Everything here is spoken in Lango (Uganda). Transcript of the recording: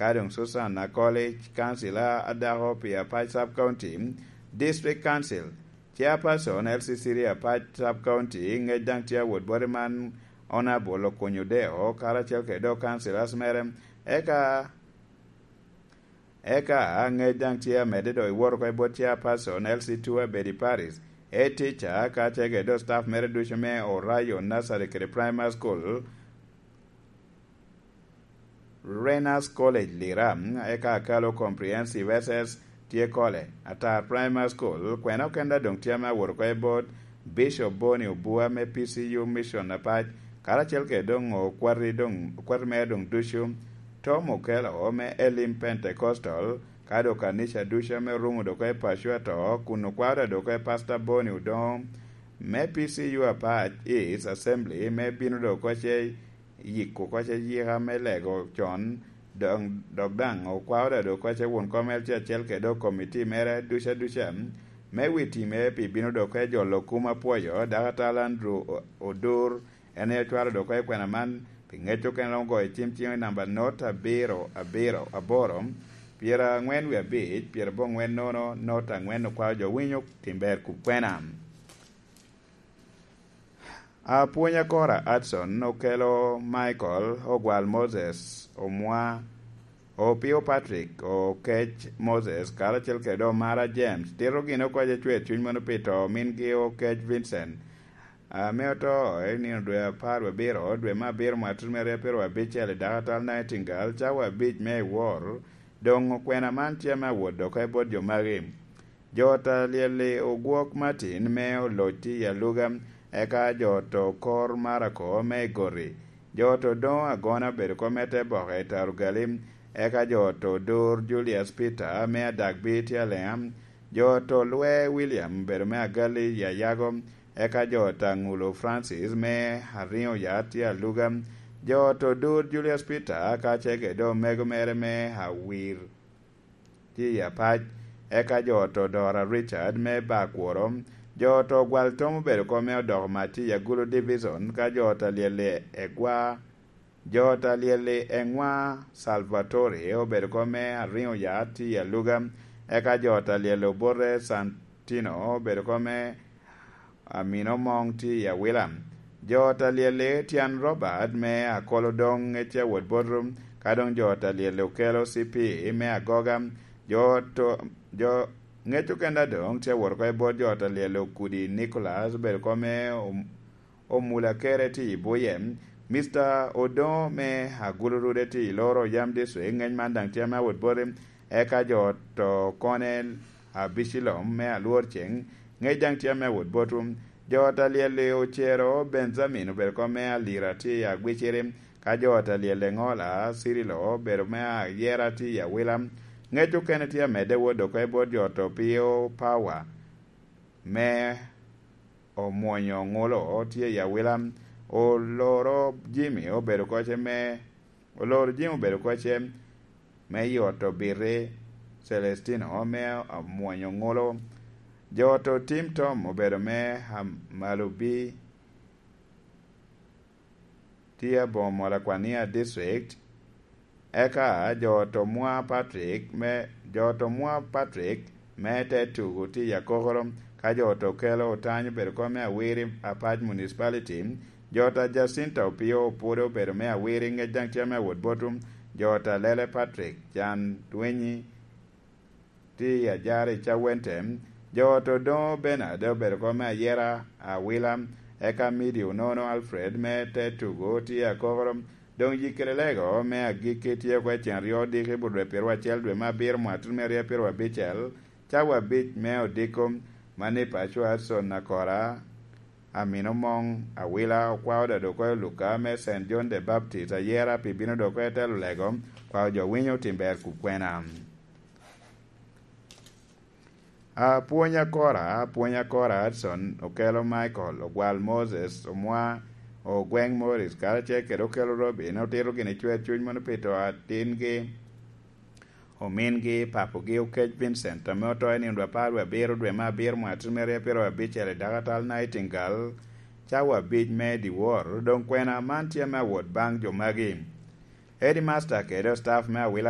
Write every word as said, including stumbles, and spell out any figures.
ka doŋ Susan Akolic, kancila a dako pi Apac Sub County, District Council, Chairperson L C C D Apac Sub County, ŋec daŋ tye awot boti man, Honourable Okunyo Deo, karacel kede dok councillors mere, eka, eka ŋec daŋ tye amedde dok iwoto oko i bot Chairperson L C two Abedi Paris, Head Teacher, kacel kede dok staff mere ducu me Orayo Nursery kede Primary School, Renas College Lira, eka akalo Comprehensive S S tye Kole, Atar Primary School, kwena okenda doŋ tye ame awot oko i bot Bishop Boni Obua me P C U Mission Apac, karacel kede doŋ okwati doŋ, okwati mere doŋ ducu, Tom Okello me Elim Pentecostal, ka doŋ kanica ducu ame orumo doŋ oko i paco ato, kun okwao doŋ oko i Pastor Boni Odongo me P C U Apac East Assembly, me bino doŋ oko ce yiko oko ce yika me lego con, dok, dok daŋ okwao doŋ oko ce won kom L C acel kede dok komiti mere duca duca, me wi time pi bino doŋ oko i jolo kum apwoyo, Dakatala Andrew O-, Odur, en aye ocwalo doŋ oko i kwena man, pi ŋec okene romo goyo cim ciŋo i namba not abiro abiro aboro, pyerangwen wie abic, pyerabongwen nono, not angwen okwao jo winyo tim ber kukwena. Apwony Akora Adson, Okelo Michael, Ogwal Moses, Omwa, Opio Patrick, Okec Moses, karacel kede Omara James, tito gin oko ce cwer cuny mono pi to mingi Okec Vincent, ame oto i nino dwe apar wie abiro, dwe me abiro mwaka tutumere pyeraryo abicel i Dakatala Nightingale, cawa abic me i wor, doŋ okwena man tye ame awot doŋ oko i bot jo magi. Jo ta lyel-li Ogwok Martin me Oloc tye i Aluga, eka jo to Kor Marako me Igoti. Jo to Doŋo Agona obedo kom me Teboke i Tarugali, eka jo to Dur Julius Peter me Adagbi tye Alenga. Jo to Lwe William obedo me Agali i Ayago, eka jo ta Ŋulo Francis me Ariŋo Yat tye Aluga. Jo to Dur Julius Peter kacel kede omego mere me Awir tye i Apac, eka jo to Dora Richard me Bakworo, jo to Gwal Tom obedo kom me odoko mac tye i Agulu Division, ka jo ta lyel-li Egwa, jo ta lyel-li Eŋwa Salvatore obedo kom me Ariŋo Yat tye i Aluga, eka jo ta lyel Obote Santino obedo kom me Amino Moŋ tye i Awila. Jo ta lyel-li Tyan Robert me Akolo doŋ ŋec tye awot bot rum, ka doŋ jo ta lyel-li Okelo C P me Agoga. Jo to, jo ŋec okenda doŋ tye awot oko i bot jo ta lyel-li Okudi Nicholas, obedo kom me Om-, Omula Kere tye i Buye. Mister Odoŋo me Agulu Rude tye i Loro Yam District, ŋec man daŋ tye ame awot boti. Eka jo to Konel Abicilom me Alwor Ceŋ, ŋec daŋ tye ame awot botwu. Jo ta lyel-li Ocero Benjamin obedo kom me Alira tye i Agwiciri, ka jo ta lyel-li Eŋola Cirilo obedo me Ayera tye i Awila. Ŋec okene tye amedde wot oko i bot jo to Pio Power me Omwonyo Ŋulo tye i Awila. Oloro Jimmy obedo koce me, Oloro Jimmy obedo koce me i ot Obiti Celestino me Omwonyo Ŋulo. Jo to Tim Tom obedo me Amalubi tye aboŋo Molakwania District. Eka jo to Mwa Patrick me, jo to Mwa Patrick me te tugo tye i Akokoro, ka jo to Kelo Otany obedo kom me Awiri Apac Municipality. Jo ta Jacinta Opio Opudo obedo me Awiri, ŋec daŋ tye me awot botwu. Jo ta Lele Patrick Can Dwenyi tye i Ajari Cawente. Jo to Doŋo Bernard obedo kom me Ayera Awila, eka Midi Onono Alfred me te tugo tye i Akokoro. Doŋ yikkere lego me agikki tye oko i cen aryo odiko i but dwe pyeraryo acel dwe me abiro mwaka tutumere aryo pyeraryo abicel, cawa abic me odiko, mano i paco Adson Akora, Amino Moŋ Awila, okwao da dok oko i Luka me Saint John the Baptist, Ayera pi bino dok oko i telo lego, kwao jo winyo otim ber kukwena. Apwony Akora, Apwony Akora Hudson, Okelo Michael, Ogwal Moses, Omwa, Ogweng Morris, karacel kede Okelo Robin, otito gin i cwer cuny mono pi to atingi, omingi, papogi, Okec Vincent, ame oto i nino dwe apar wie abiro dwe me abiro mwaka tutumere pyeraryo abicel i Dakatal Nightingale, cawa abic me dyewor. Doŋ kwena man tye me awot baŋ jo magi. Headmaster kede staff me Awila